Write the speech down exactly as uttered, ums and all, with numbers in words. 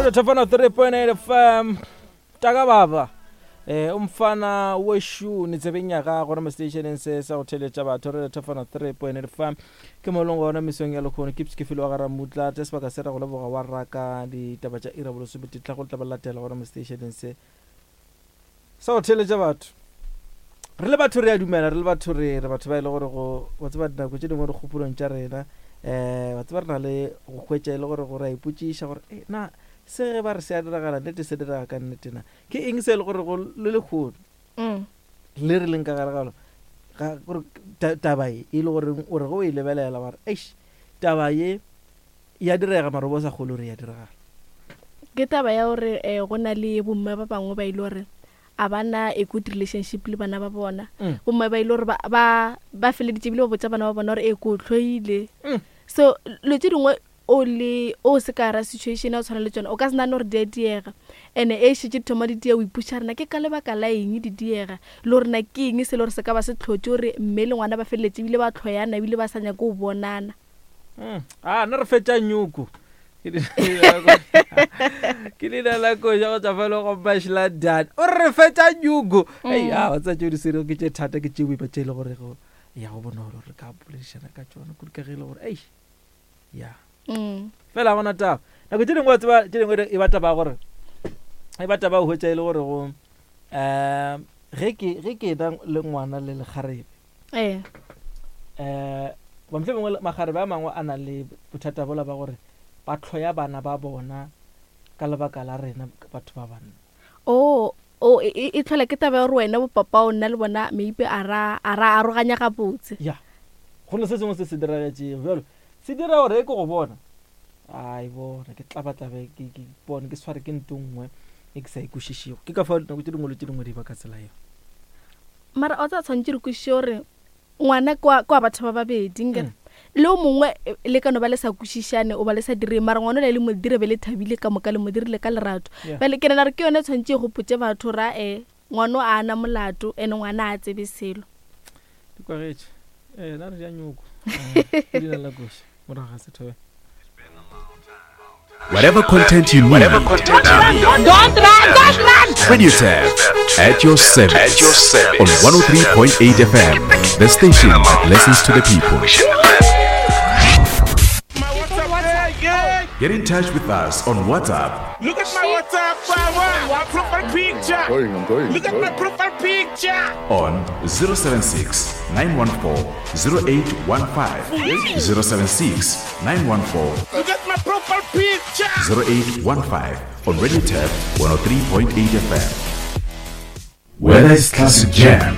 Radio Tafana three point eight F M. Taka baba. Eh umfana weshu ni tsebeng ya gago mo stationeng se sa go theletša batho Radio Tafana three point eight F M. Ke mo leng gona mesong ya lekgono ke ke felo wa ga Ramutla tse sebaka se ra go leboga wa raka ditaba tša ira bolesomepedi tla go tla ba latela gona mo stationeng se sa go theletša batho. Re le batho re a dumela, re le batho re re batho ba e le gore go wa tseba dinako tše dingwe re kgopolong tša rena, eh, wa tseba re na le go hwetša e le gore go re a ipotšiša gore, eh, na se ge ba re se a diragala, nnete se direga ka nnete na? Ke eng se e le gore go le lekgono Mm. le re leng ka gare ga lona? Ga, gore ta-, taba e, e le gore o re ge o e lebelela wa re, eish, taba ye ya direga mara o bo sa kgolwe gore ya diragala. Ke taba ya gore, eh, go na le bomme ba bangwe ba ile gore a ba na a good relationship le bana ba bona. Mm. Bomme ba ile gore ba, ba, ba feleditše ebile ba botša bana ba bona gore, eh, ke o hloile. Mm. So, lo tše dingwe o le, o se ka ra situation ya go tshwana le tšona, o ka se nahane gore di a diega. And-e e šetše di thoma di diega, o ipotšiša gore na ke ka lebaka la eng di diega, le gore na ke eng se le gore se ka ba se hlotše gore mme le ngwana ba feleletše ebile ba hloyana, ebile ba sa nyake go bonana. Mm. Ah, nna re fetša nyoko. Ke leina la ko-, ke leina la koša go tšwa fa le go Mashla Dan. O re re fetša nyoko. Ei, Mm. ah, wa tseba tšeo di swerego ke tše thata, ke tše boima tše e le gore go ya go bonolo re ka boledišana ka tšona, kudu ka ge e le gore, ei, ya. Mm. Fela ga gona taba. Nako tše dingwe wa tseba, tše dingwe e ba taba ya gore, e ba taba ya go hwetša e le gore go, eh, ge ke, ge ke ena le ngwana le lekgarebe. Eh. Eh, ba mohlomongwe makgarebe a mangwe a na le bothata bola ba gore ba hloya bana ba bona ka lebaka la rena batho ba banna. Oh, oh, e, e, e tlhola ke taba ya gore wena bo papa o nna le bona maybe a ra, a ra aroganya gabotse. Ya. Go na se sengwe se se diragetšego bjalo. Se dira gore ke go bona. Ai bona ke tlabatlabe ke, ke bone ke sware ke ntho nngwe e ke sa e kwešišego. Ke ka fao dinako tše dingwe le tše dingwe di ba ka tsela eo. Mara o tsa tshwanetse re kwešiše gore ngwana ke wa, ke wa batho ba babedi, nkere. Mm. Le o mongwe, eh, le ka no ba le sa kwešišane, o ba le sa direng, mara ngwana o le mo dire be le thabile ka moka, le mo dirile ka lerato. Yeah. Bjale ke nahana gore ke yone e tshwanetse e gopotse batho ra, eh, ngwana o a na molato, ene ngwana a tsebe selo. Di kwagetše. Eh, nna re ja nyoko. Eh, ke leina la koša. Morago ga sethobela. Whatever content you need. Whatever content you need. Don't run, don't run. Radio Tap at your service. At your service. On one oh three point eight F M, the station that listens to the people. Get in touch with us on WhatsApp. Look at my WhatsApp, my, my profile picture. I'm going, I'm going, Look at I'm my going. profile picture. On zero seven six, nine one four, zero eight one five. zero seven six, nine one four, Look at my profile picture. zero eight one five on Radio Tap one oh three point eight F M. Whether it's classic jam,